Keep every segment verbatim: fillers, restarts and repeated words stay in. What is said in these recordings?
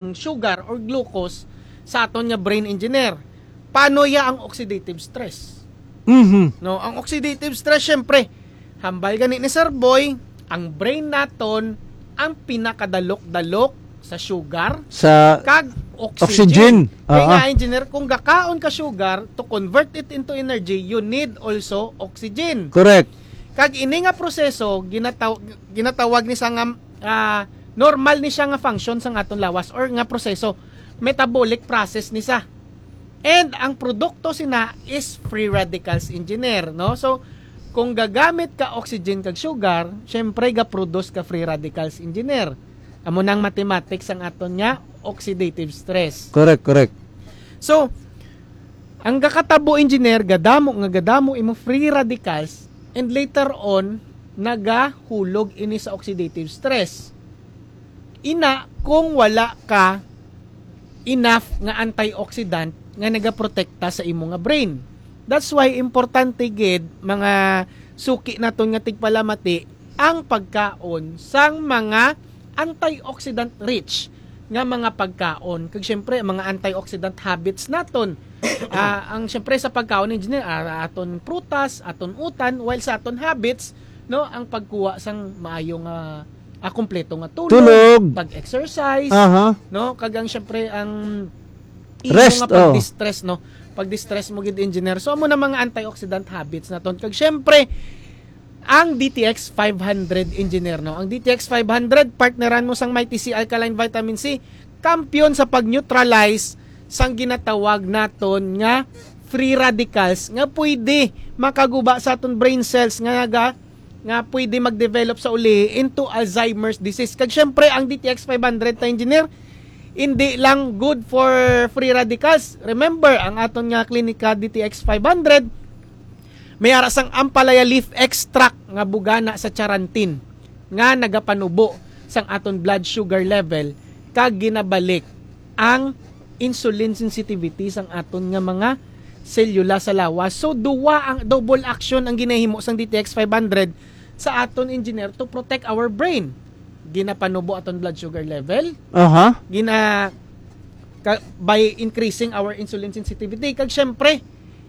sugar or glucose sa aton nga brain, engineer. Paano ya ang oxidative stress? Mhm. No, ang oxidative stress, syempre, hambal gani ni Sir Boy, ang brain naton ang pinakadalok-dalok sa sugar Sa kag oxygen. Oxygen. Kaya nga, Ah. engineer, kung gakaon ka sugar, to convert it into energy, you need also oxygen. Correct. Kag ini nga proseso, ginataw-, ginatawag ni sa nga, ah, normal ni siya nga function sang aton lawas or nga proseso, metabolic process ni sa. And ang produkto sina is free radicals, engineer, no? So, kung gagamit ka oxygen kag sugar, syempre ga-produce ka free radicals, engineer. Amo nang mathematics ang aton nga oxidative stress. Correct, correct. So, ang gakatabo, engineer, gadamo nga gadamo imo free radicals, and later on, nagahulog ini sa oxidative stress. Ina, kung wala ka enough nga antioxidant nga nagaprotekta sa imo nga brain. That's why importante gid, mga suki naton nga tigpalamati, ang pagkaon sang mga antioxidant rich nga mga pagkaon. Kag syempre, ang mga antioxidant habits naton. Ah, ang syempre sa pagkaon, engineer, ah, aton prutas, aton utan, while sa aton habits, no, ang pagkuha sang maayo nga, ah, kompleto nga tulog, Tulog. pag-exercise, Aha. no, kag ang syempre ang imo Rest, nga oh. pag-distress, no, pag-distress mo gid, engineer. So amo na mga antioxidant habits naton. Kag syempre, ang D T X five hundred, engineer, no? Ang D T X five hundred, partneran mo sang Mighty C Alkaline Vitamin C, kampiyon sa pag-neutralize sang ginatawag naton nga free radicals nga pwede makaguba sa aton brain cells nga naga-, nga pwede mag-develop sa uli into Alzheimer's disease. Kag syempre, ang D T X five hundred ta, engineer, hindi lang good for free radicals. Remember, ang aton nga klinika D T X five hundred, may ara sang ampalaya leaf extract nga bugana sa charantin nga nagapanubo sang aton blood sugar level kag ginabalik ang insulin sensitivity sang aton nga mga selula sa lawas. So, duwa ang double action ang ginahimo sang D T X five hundred sa aton, engineer, to protect our brain. Ginapanubo aton blood sugar level, Aha. gina ka, by increasing our insulin sensitivity. Kag syempre,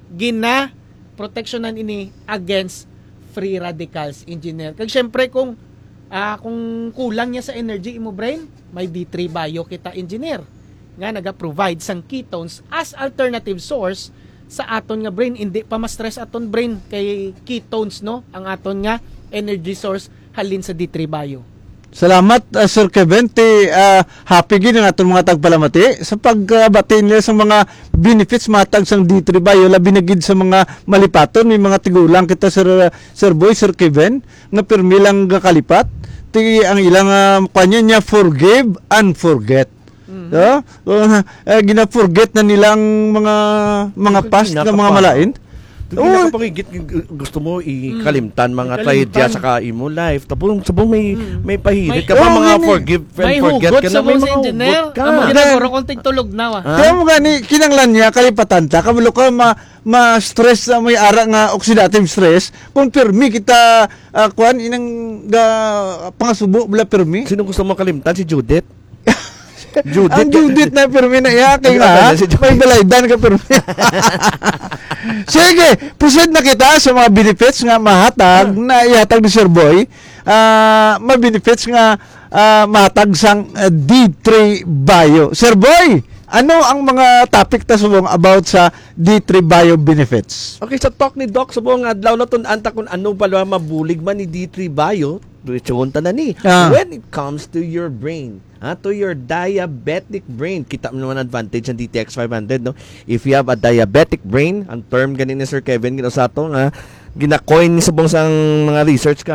gina proteksyonan ini against free radicals, engineer. Kag syempre, kung, ah, kung kulang niya sa energy imo brain, may D three Bio kita, engineer, nga naga-provide sang ketones as alternative source sa aton nga brain. Hindi pa ma-stress aton brain kay ketones, no, ang aton nga energy source halin sa D three Bio. Salamat, ah, Sir Kevin. Ti, ah, happy gid ang aton mga tagpalamati sa pagbati nila sa mga benefits matag sang D three Bio, labi na gid sa mga malipaton. May mga tigulang kita, Sir, Sir Boy, Sir Kevin, nga pirmi lang gakalipat. Ti ang ilang, ah, kuwan niya, forgive and forget. Mhm. No? Uh, eh, gina-forget na nilang mga, mga Yung past kanina na pa mga pa. malain. Yung Oo. pinakapangigit, yung gu-, gusto mo ikalimtan Mm. mga Ikalimtan. trahedya sa ka imo life. Tapos subong may, Mm. may pahirit May ka pa, Oo, mga yun eh. forgive and May forget hugot ka na, sa may mga mga engineer. hugot ka. Ang Ang ginagawa gani- ko, kung tigtulog na, ah. Ha? Kaya mo gani, kinanglan niya, kalipatan ta, kabalo ka ma-, ma-stress na may ara nga oxidative stress, kung pirmi kita, ah, kuwan, inang ga-, pangasubo, bala pirmi. Sino gusto mo kalimtan? Si Judith? Judith. Ang Judith na pirmi na iya, kay Hindi, nga, okay, si Judith. may balaydan ka pirmi. Sige, proceed na kita sa mga benefits nga mahatag, Ah. na ihatag ni Sir Boy. Ah, mga benefits nga, ah, mahatag sang, ah, D three Bio. Sir Boy, ano ang mga topic ta subong about sa D three Bio benefits? Okay, sa talk ni Doc, subong adlaw na tun-an ta kung ano pala mabulig man ni D three Bio. Diretsuhon ta na ni. Ah. When it comes to your brain, ha, to your diabetic brain, kita mo naman advantage ng D T X five hundred, no? If you have a diabetic brain, ang term gani ni Sir Kevin, gina-, sa ato nga, gina-coin ni subong sang mga research ka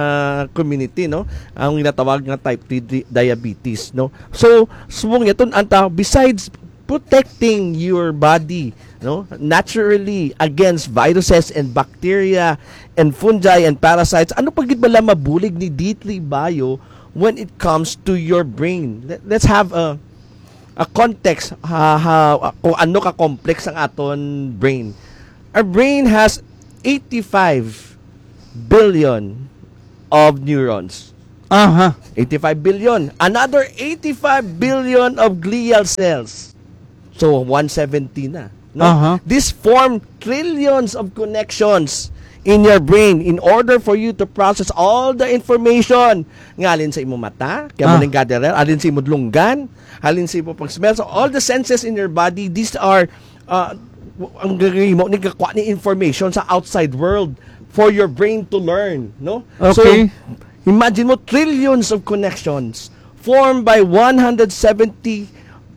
community, no? Ang ginatawag nga type three di-, diabetes, no? So, subong niya, tun-an ta, besides protecting your body, no, naturally against viruses and bacteria and fungi and parasites, ano pa gid bala mabulig ni D three Bio when it comes to your brain? Let, let's have a, a context, ha, ha, kung ano ka complex ang aton brain. Our brain has eighty-five billion of neurons. Aha. Eighty-five billion. Another eighty-five billion of glial cells. So, one seventy na. No? Aha. This form trillions of connections in your brain in order for you to process all the information nga alin sa imo mata, kaya mo Ah. ning gatherer, alin sa imo lunggan, alin sa imo pag-smell. So, all the senses in your body, these are, uh, w- ang gagawin mo, nagkakuha ni information sa outside world for your brain to learn, no? Okay. So, imagine mo, trillions of connections formed by one hundred seventy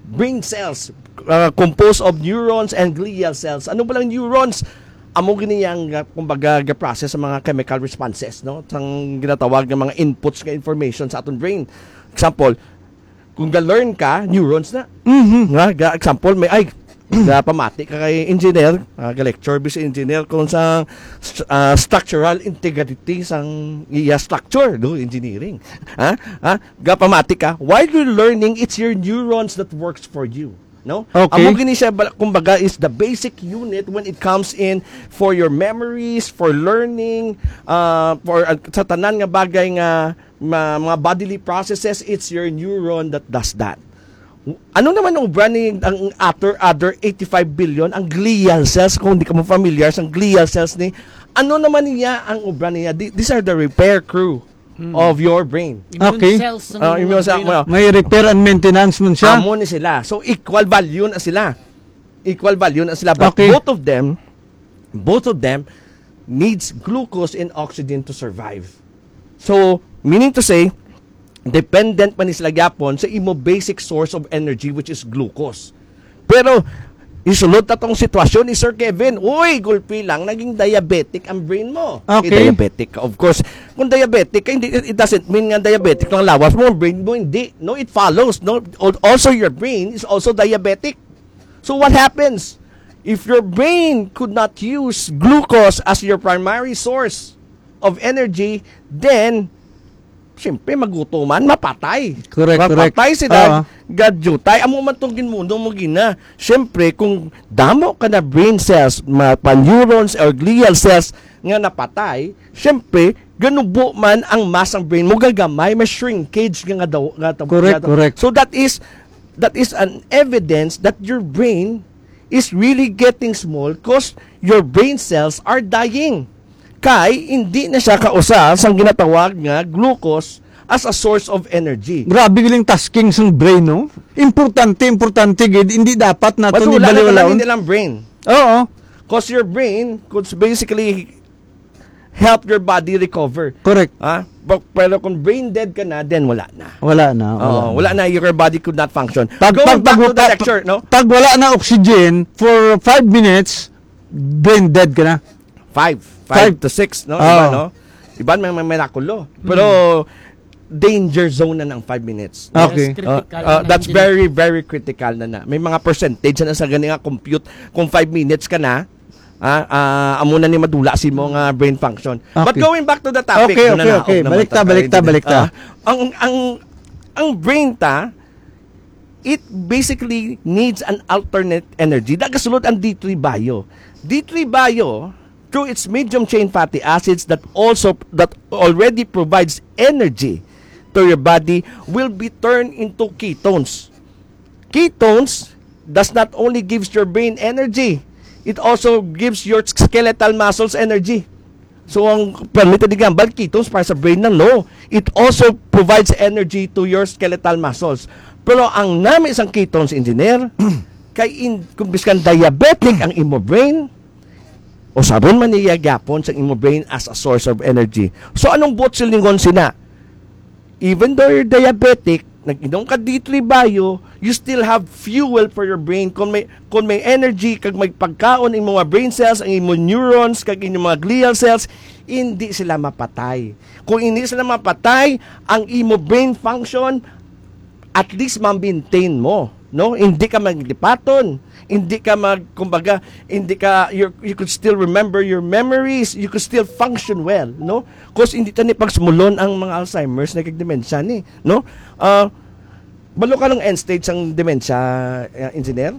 brain cells, uh, composed of neurons and glial cells. Ano ba lang neurons? Amo gini ang, uh, kumbaga, ga-process sa mga chemical responses, no? Sang ginatawag nga mga inputs nga information sa aton brain. Example, kung ga-learn ka, neurons na. Mhm. Nga, ga, example, may, ay, ga pamati ka kay engineer, ah, ga-lecture bis engineer kung sa st-, ah, structural integrity sang iya structure, do engineering. Ha? Ha? Ga pamati ka, while you're learning, it's your neurons that works for you. No? Okay. Amo gini siya, bal-, kumbaga, is the basic unit when it comes in for your memories, for learning, uh, for, uh, sa tanan nga bagay nga ma-, mga bodily processes, it's your neuron that does that. Ano naman ang obra ni ang other, other eighty-five billion, ang glial cells, kung di ka mo familiar sa glial cells ni, ano naman niya ang obra niya? Th-, these are the repair crew Hmm. of your brain. Immune Okay. cells ng Ah, immune mga cell brain. mo. May repair and maintenance man siya. Amo ni sila. So, equal value na sila. Equal value na sila. But Okay. both of them, both of them needs glucose and oxygen to survive. So, meaning to say, dependent pa ni sila gyapon sa imo basic source of energy, which is glucose. Pero, isulod ta tong sitwasyon ni Sir Kevin, uy, gulpi lang, naging diabetic ang brain mo. Okay. Eh, diabetic ka. Of course, kung diabetic ka, hindi, it doesn't mean nga diabetic lang lawas mo, ang brain mo hindi. No, it follows. No? Al-, also, your brain is also diabetic. So what happens? If your brain could not use glucose as your primary source of energy, then, siyempre, magutuman, mapatay. Correct, correct. Mapatay sila, Oo. Gadyutay. Amo man itong ginmundo mo gina. Siyempre, kung damo ka na brain cells, ma-, pa neurons or glial cells nga napatay, siyempre, ganubo man ang mass ang brain mo, gagamay, may shrinkage nga, nga daw, nga tab-, Correct, nga daw. Correct. So that is, that is an evidence that your brain is really getting small 'cause your brain cells are dying. Kay hindi na siya kausa sang ginatawag nga glucose as a source of energy. Grabe galing tasking sang brain, no? Importante, importante gid. Hindi dapat nato Madula na ibaliwalaon. Talaga nilang brain. Oo. 'Cause your brain could basically help your body recover. Correct. Ha? But, pero kung brain dead ka na, then wala na. Wala na, Oo, wala na. wala na. Your body could not function. Pag, Going pag, back pag, to the pag, lecture, no? Pag wala na oxygen for five minutes, brain dead ka na. Five. Five Five. to six, no? Oo. Iba, no? Iban may, may mirakulo. Pero danger zone na ng five minutes. Okay. Yes, critical Uh, na uh, ng that's engineer. very, very critical na na. May mga percentage na sa gani nga compute. Kung five minutes ka na, ah, ah, amo na ni madula si mo nga brain function. But Okay. going back to the topic, Okay, no, okay, na, okay. Naog naman Balik ta, ta, balik ta, Engineer. balik ta. Ah, ang, ang, ang brain ta, it basically needs an alternate energy. Nagasulod ang D three Bio. D three Bio, through its medium chain fatty acids that also, that already provides energy to your body, will be turned into ketones. Ketones does not only gives your brain energy, it also gives your skeletal muscles energy. So, ang permit di gambal, ketones para sa brain lang, no. It also provides energy to your skeletal muscles. Pero ang nami sang ketones, engineer, kay in, kung biskan diabetic ang imo brain, usabon man niya gyapon sa imo brain as a source of energy. So, anong buot silingon sina? Even though you're diabetic, nag-inom ka D three Bio, you still have fuel for your brain. Kung may, kung may energy, kag may pagkaon, ang mga brain cells, ang imo neurons, kag inyong mga glial cells, hindi sila mapatay. Kung hindi sila mapatay, ang imo brain function, at least ma-maintain mo, no? Hindi ka maglipaton, hindi ka mag, kumbaga, hindi ka, you, you could still remember your memories, you could still function well, no? 'Cause hindi tani pagsumulon ang mga Alzheimer's na kag dementia ni, no? Ah, balo ka ng end stage sang dementia, eh, engineer?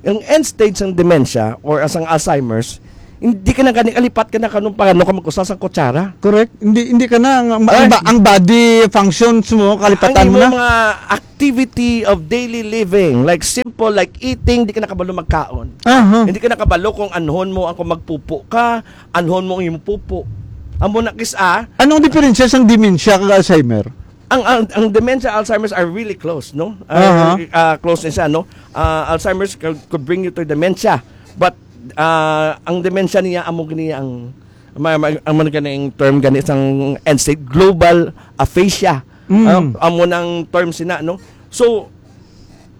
Ang end stage sang dementia or sang Alzheimer's, Hindi ka na gani, kalipat ka na kanong paano ka mag-usa sa kutsara. Correct. Hindi, hindi ka na, ang, ang, Ay. ba- ang body functions mo, kalipatan Ang mo imo na. mga activity of daily living, like simple, like eating, di ka na kabalo magkaon. Aha. Hindi ka na kabalo kung anhon mo ang kung magpupo ka, anhon mo ang imong pupo. Amo na kis-, ah, Anong diferensya sang dementia kag Alzheimer? Ang, ang, ang dementia, Alzheimer's are really close, no? Uh, Aha. uh, close ni siya, no? Uh, Alzheimer's could, could bring you to dementia. But uh, ang dementia niya, amo gani ang, ma, ma, ang man gani ang term gani sang N state, global aphasia. Mm. Uh, amo nang term sina, no? So,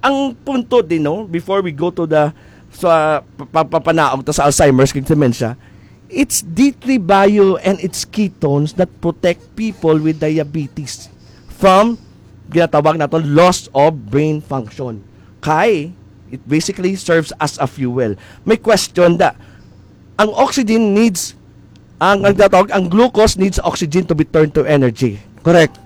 ang punto din, no, before we go to the, sa pa- pa- papanaog ta sa Alzheimer's kag dementia, it's D three bio and its ketones that protect people with diabetes from ginatawag naton loss of brain function. Kay it basically serves as a fuel. May question da, ang oxygen needs, ang, ang ginatawag, ang glucose needs oxygen to be turned to energy. Correct.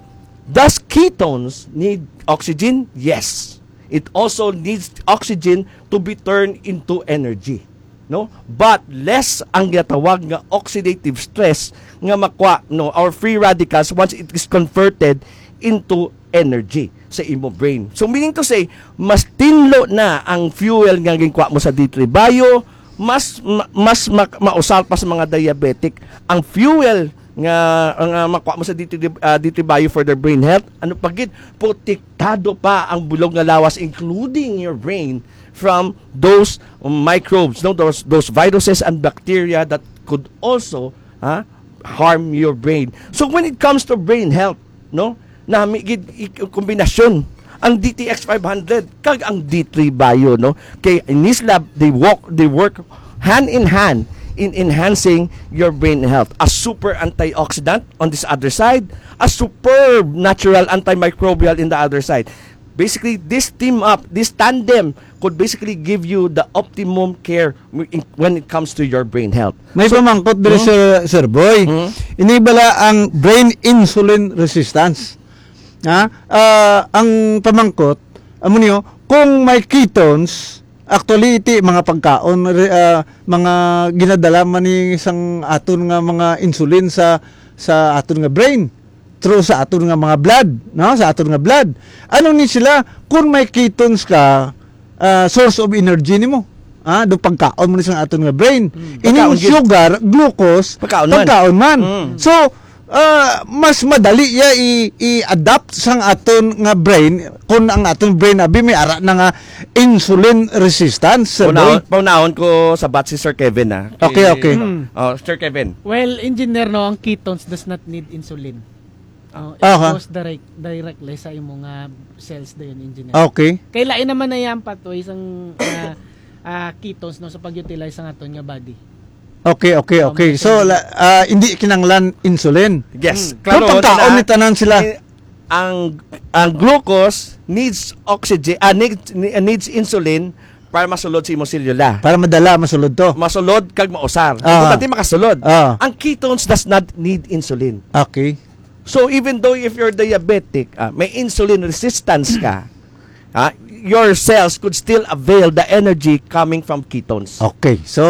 Does ketones need oxygen? Yes. It also needs oxygen to be turned into energy, no? But less ang ginatawag nga oxidative stress nga makwa, no, or free radicals once it is converted into energy sa imo brain. So, meaning to say, mas tinlo na ang fuel nga ginkwa mo sa D three bio, mas ma- mas ma- mausal pa sa mga diabetic ang fuel nga nga makwa mo sa D three, ah, D three bio for their brain health. Ano pa gid, protektado pa ang bulog nga lawas, including your brain, from those microbes, no, those those viruses and bacteria that could also, ha, harm your brain. So when it comes to brain health, no, nami gid i- kombinasyon ang D T X five hundred kag ang D three bio, no? Kay in this lab, they walk, they work hand in hand in enhancing your brain health. A super antioxidant on this other side, a superb natural antimicrobial in the other side. Basically, this team up, this tandem could basically give you the optimum care in- when it comes to your brain health. May So, pamangkot diri, hmm? Sir, Sir Boy. Hmm? Ini bala ang brain insulin resistance. Ha? Ah, ang pamangkot, amo niyo, kung may ketones, actually, iti mga pagkaon, re- ah, mga ginadala man ni sang aton nga mga insulin sa sa aton nga brain through sa aton nga mga blood, no? Sa aton nga blood. Ano ni sila, kung may ketones ka, ah, source of energy nimo. Ah, do pagkaon mo ni sa aton nga brain. Mm. Ining Pagkaon gyud. sugar, glucose, Pagkaon man. pagkaon man. Mm. So, ah, mas madali ya i- i-adapt sang aton nga brain kung ang aton brain abi may ara na nga insulin resistance, Sir Paunahon, Boy. paunahon ko sa bat si Sir Kevin, ah. Okay, okay. Mm. Oh, Sir Kevin. Well, engineer, no, ang ketones does not need insulin. Oh, it Aha. goes direct, directly sa imo nga cells dayon, engineer. Okay. Kay lain naman na yan pathway sang, ah, ah, ketones, no, sa pag-utilize sa aton nga body. Okay, okay, Oh, okay. So, matagal. la- ah, hindi kinanglan insulin. Yes, Mm. Pero klaro pagkaon na ni tanan sila. Eh, ang ang glucose needs oxygen, ah, needs, needs insulin para masulod sa imong selula. Para madala, masulod to. Masulod kag mausar. Ah. Importante makasulod. Ah. Ang ketones does not need insulin. Okay. So even though if you're diabetic, ah, may insulin resistance ka, ah, your cells could still avail the energy coming from ketones. Okay. So,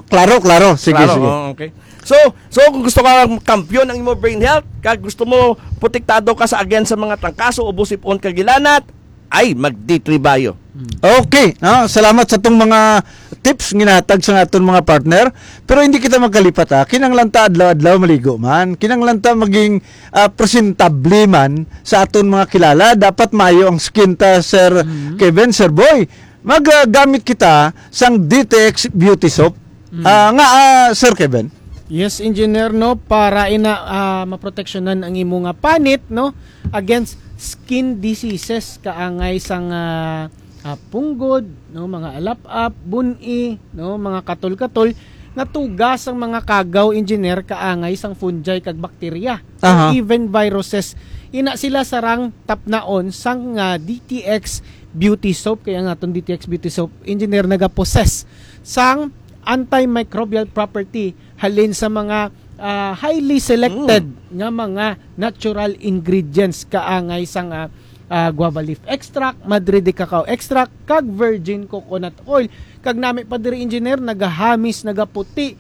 klaro, klaro. Sige, Klaro, sige. Oh, okay. So, so kung gusto ka kampiyon ang imo brain health, kag gusto mo protektado ka sa against sa mga trangkaso, ubo, sipon, kag hilanat, ay mag D three Bio. Okay, no? Salamat sa tong mga tips ginatag sa aton mga partner. Pero hindi kita magkalipat, ha. Kinanglan ta adlaw-adlaw maligo man. Kinanglan ta maging, ah, presentable man sa aton mga kilala. Dapat mayo ang skin ta, Sir Mhm. Kevin, Sir Boy. Mag, ah, gamit kita sang D T X Beauty Soap. Mm. Ah, nga, ah, Sir Kevin? Yes, engineer, no, para ina, ah, maproteksyonan ang imo nga panit, no, against skin diseases, kaangay sang, ah, ah, punggod, no, mga alap-ap, bun-i, no, mga katol-katol, natuga sang mga kagaw, engineer, kaangay sang fungi kag bakterya, Aha. even viruses. Ina sila sarang tapnaon sang, ah, D T X Beauty Soap, kaya nga atong D T X Beauty Soap, engineer, nagapossess sang antimicrobial property halin sa mga, ah, highly selected Mm. nga mga natural ingredients, kaangay sang, ah, ah, guava leaf extract, madre de cacao extract, kag virgin coconut oil. Kag nami pa diri, engineer, nagahamis, nagaputi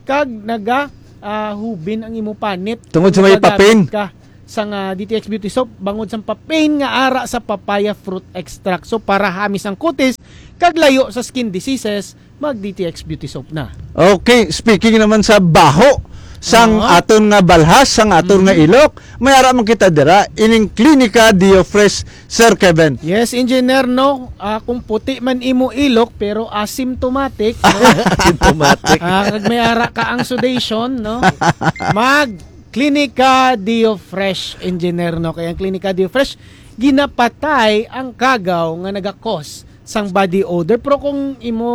kag naga, ah, hubin ang imo panit. Tungod sa may Nagagamit papain. ka sang, ah, D T X Beauty Soap, bangod sa papain nga ara sa papaya fruit extract. So, para hamis ang kutis, kag layo sa skin diseases, mag D T X Beauty Soap na. Okay, speaking naman sa baho, sang Oo. aton nga balhas, sang aton nga Mhm. ilok, may ara man kita dira, ining Klinika Dio Fresh, Sir Kevin. Yes, Engineer, no? Ah, kung puti man imo ilok, pero asymptomatic, no? Asymptomatic. Ah, kag may ara ka ang sudation, no? Mag Klinika Dio Fresh, Engineer, no? Kaya ang Klinika Dio Fresh, ginapatay ang kagaw nga nagakos sang body odor. Pero kung imo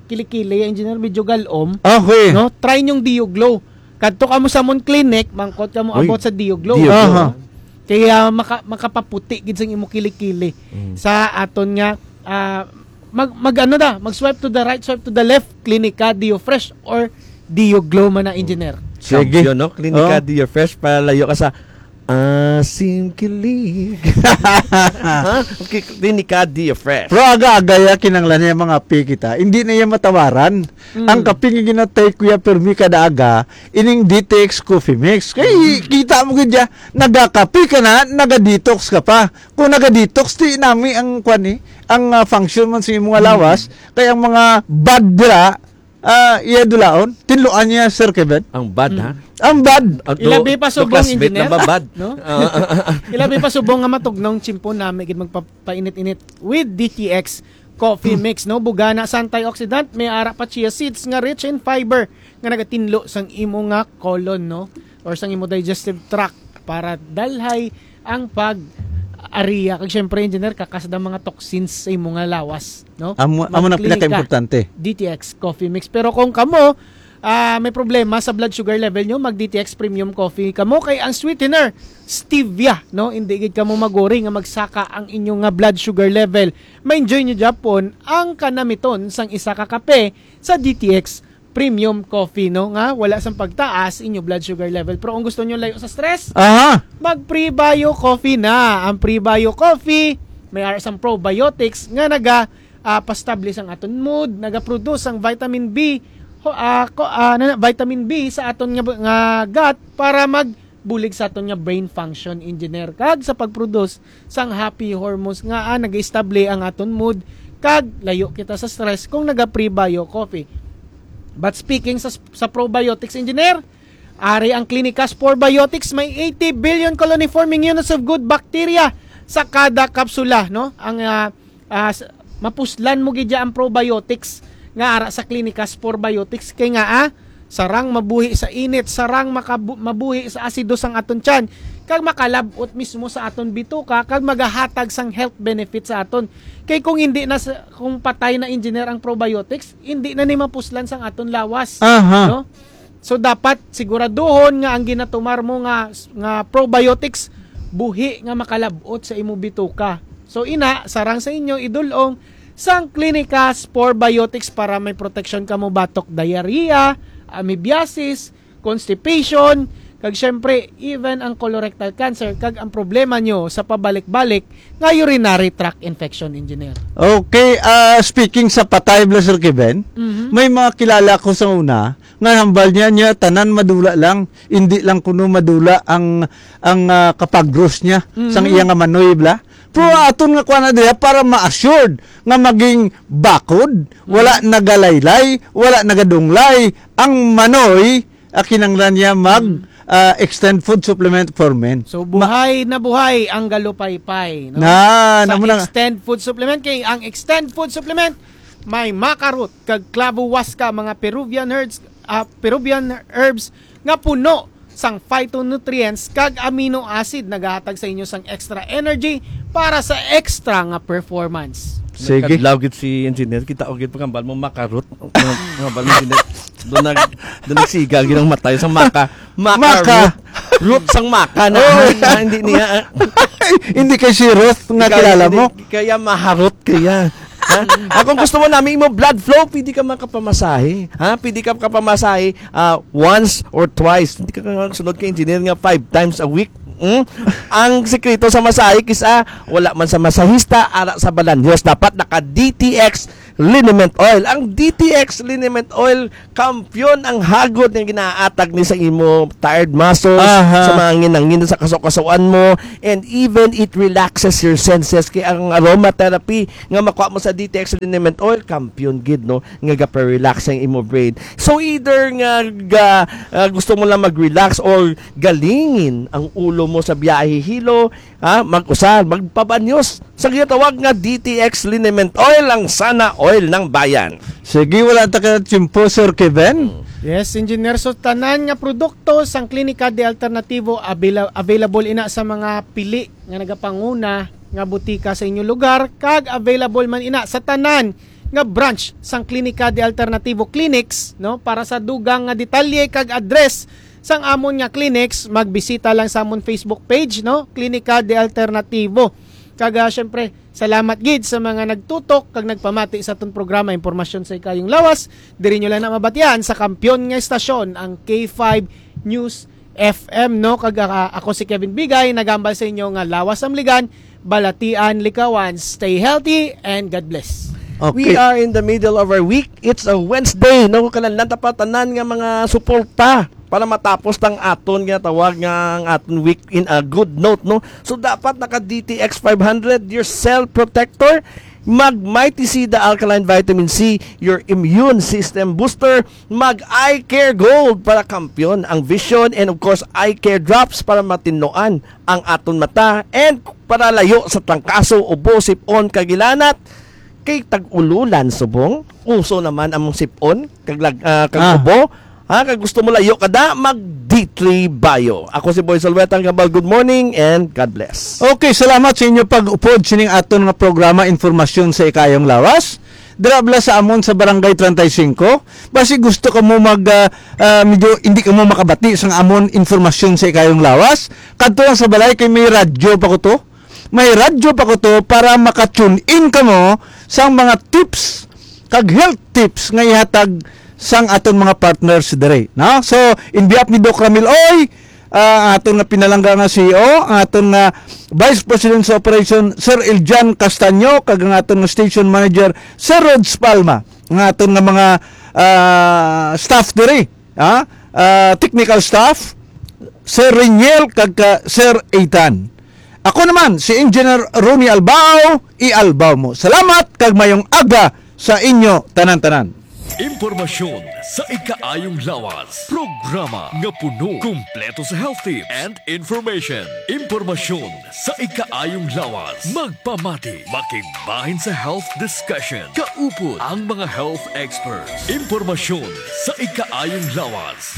kilikili, Engineer, medyo galom, Okay. no? Try yung Dio Glow. Kadto ka mo sa Mon Clinic, mangkot ka mo Uy, about sa Dio Glow. Dio Glow. Aha. Kaya maka-, makapaputi gid sang imo kilikili Mm. sa aton nga, ah, mag, mag ano da, mag swipe to the right, swipe to the left, Klinika Dio Fresh or Dio Glow man na, Engineer. Sige. Champion, no? Klinika Oh. Dio Fresh, palayo ka sa asim kilig. Ha? Okay, Klinika Dio Fresh. Pero aga-aga ya kinanglan niya mga pi kita. Hindi na iya matawaran. Mm. Ang kape nga ginatay, Kuya Permi, kada aga, ining D T X Coffee Mix. Kay Mm. kita mo gid ya, nagakape ka na, naga-detox ka pa. Kung naga-detox, di nami ang kwan eh, ang, ah, function man sa imong Mm. lawas, kay ang mga bad dira, ah, iya dulaon, tinluan niya, Sir Kevin. Ang bad, Mm. ha? Ang bad. Ang Ilabi do-, pa subong, classmate Engineer. na ba bad? No? Ah, ah, ah, ah. Ilabi pa subong nga matugnong tsimpo nami gid magpapainit-init with D T X Coffee Mix, no? Bugana sa antioxidant, may ara pa chia seeds nga rich in fiber nga nagatinlo sang imo nga colon, no? Or sang imo digestive tract para dalhay ang pag-ariya. Kag syempre, Engineer, kakasad ang mga toxins sa imo nga lawas, no? Amo, amo nang Magklinika. pinakaimportante. D T X Coffee Mix. Pero kung kamo, ah, may problema sa blood sugar level nyo, mag D T X Premium Coffee kamo. Kay ang sweetener, stevia, no? Hindi gid kamo maguri nga magsaka ang inyo nga blood sugar level. Ma-enjoy nyo gyapon ang kanamiton sang isa ka kape sa D T X Premium Coffee, no? Nga wala sang pagtaas inyo blood sugar level. Pero kung gusto nyo layo sa stress, Aha. mag Prebio Coffee na. Ang Prebio Coffee, may ara sang probiotics nga naga, ah, pastabli sang aton mood, naga-produce sang vitamin B, ho-, ah, ko-, ah, na, vitamin B sa aton nga, nga gut para magbulig sa aton nga brain function, Engineer, kag sa pag-produce sang happy hormones nga, ah, nag-estable ang aton mood, kag layo kita sa stress kung naga-Prebio Coffee. But speaking sa, sa probiotics, Engineer, ari ang Clinicas Probiotics, may eighty billion colony-forming units of good bacteria sa kada kapsula, no? Ang, ah, ah, s-, mapuslan mo gid ang probiotics nga ara sa Clinicas Probiotics kay nga, ah, sarang mabuhi sa init, sarang makabu-, mabuhi sa asido sang aton tiyan, kag makalab-ot mismo sa aton bituka, kag magahatag sang health benefit sa aton. Kay kung hindi na sa, kung patay na, Engineer, ang probiotics, hindi na ni mapuslan sang aton lawas, Aha. no? So, dapat siguraduhon nga ang ginatumar mo nga, nga probiotics buhi nga makalab-ot sa imo bituka. So, ina, sarang sa inyo, idulong sang Clinicas Probiotics para may protection kamo batok diarrhea, amoebiasis, constipation, kag syempre, even ang colorectal cancer, kag ang problema nyo sa pabalik-balik nga urinary tract infection, Engineer. Okay, ah, speaking sa patay, Blaser Kevin, Mhm. may mga kilala ko sa una, nga hambal niya, niya, tanan madula lang, hindi lang kuno madula ang, ang, ah, kapagros niya, Mhm. sang iya nga manoy, bla. Pero Mhm. aton nga kuha na diha para ma-assured nga maging bakod, wala Mhm. nagalaylay, wala nagadunglay ang manoy, ah, kinanglan niya mag, Mhm. ah, extend food supplement for men. So, Ma- buhay na buhay ang galupaypay, no? Na, Sa namo na. Extend food supplement, kay ang extend food supplement may maca root kag clavo huasca, mga Peruvian herbs, ah, Peruvian herbs nga puno sang phytonutrients kag amino acid, nagahatag sa inyo sang extra energy para sa extra nga performance. Sige. Nagkadlaw gid si Engineer, kita ko gid pagkambal mo maca root. Pagkambal mo, Engineer. Doon nag-, doon nagsiga gid ang mata sa maca. Maca Maca. root. Root sang maca na, Oh. na hindi niya, ah. Hindi kay si Ruth nga Ikaw, kilala hindi, mo? Kaya maharot kaya. Ha? Ah, kung gusto mo namin imo blood flow, pwede ka makapamasahe. Ha? Pwede ka makapamasahe, ah, once or twice. Hindi ka sunod kay Engineer nga five times a week. Hmm? Ang sikreto sa masahe, kisa wala man sa masahista, ara sa Balanhos, dapat naka D T X liniment oil. Ang D T X liniment oil, kampiyon ang hagod nga ginaatag ni sa imo tired muscles, Aha. sa mga nginangin sa kasukasuan mo, and even it relaxes your senses. Kay ang aromatherapy nga makuha mo sa D T X liniment oil, kampiyon gid, no, nga gapa-relax ang imo brain. So either nga ga, ah, gusto mo lang mag-relax or galingin ang ulo mo sa biyahe hilo, ha, mag-usar, magpabanyos sa ginatawag nga D T X liniment oil, ang sana oil ng bayan. Sige, wala ta ka tiyempo, Sir Kevin. Yes, Engineer. So, tanan nga produkto sang Klinika de Alternativo abila-, available ina sa mga pili nga nagapanguna nga butika sa inyo lugar, kag available man ina sa tanan nga branch sang Klinika de Alternativo Clinics, no? Para sa dugang nga detalye kag address sang amon nga clinics, magbisita lang sa amon Facebook page, no? Klinika de Alternativo. Kag, ah, syempre, salamat gid sa mga nagtutok kag nagpamati sa aton programa, Impormasyon sa Ikayong Lawas. Diri nyo lang na mabatian sa kampiyon nga estasyon, ang K five News F M, no? Kag, ah, ako si Kevin Bigay, nagambal sa inyo nga lawas amligan, balatian likawan. Stay healthy and God bless. Okay. We are in the middle of our week. It's a Wednesday, no? Kanang nanta pa tanan nga mga suporta para matapos tang aton nga tawag nga ang aton week in a good note, no? So dapat naka D T X five hundred, your cell protector, mag Mighty Sida Alkaline Vitamin C, your immune system booster, mag Eye Care Gold para kampiyon ang vision, and of course, Eye Care Drops para matinloan ang aton mata, and para layo sa trangkaso, ubo, sipon, kagilanat. Kay tag-ululan subong, uso naman ang sipon, kag lag-, ah, kag Ah. ubo. Ha, kag gusto mo layo kada, mag D three Bio. Ako si Boy Salweta, ang Gambal. Good morning and God bless. Okay, salamat sa inyo pag-upod sining aton nga programa, Impormasyon sa Ikayong Lawas. Dira bala sa amon sa Barangay treinta y cinco. Basi gusto ka mo mag, ah, ah, medyo hindi ka mo makabati sang amon Impormasyon sa Ikayong Lawas, kadto lang sa balay kay may radyo pa ko to. May radyo pa ko to para maka-tune in kamo sang mga tips kag health tips nga ihatag sang aton mga partners diri, no? So, in behalf ni Doc Ramil Oy, ah, ang aton nga pinalangga nga C E O, ang aton nga Vice President sa Operation, Sir Eljan Castaño, kag ang aton nga Station Manager, Sir Rods Palma, ang aton nga mga, ah, staff diri, ah, ah, technical staff, Sir Reniel, kag ka Sir Ethan. Ako naman, si Engineer Ronnie Albao, i-Albao mo. Salamat kag mayong aga sa inyo tanan-tanan. Impormasyon sa ikaayong lawas. Programa nga puno, kumpleto sa health tips and information. Impormasyon sa ikaayong lawas. Magpamati, makigbahin sa health discussion. Kaupod ang mga health experts. Impormasyon sa ikaayong lawas.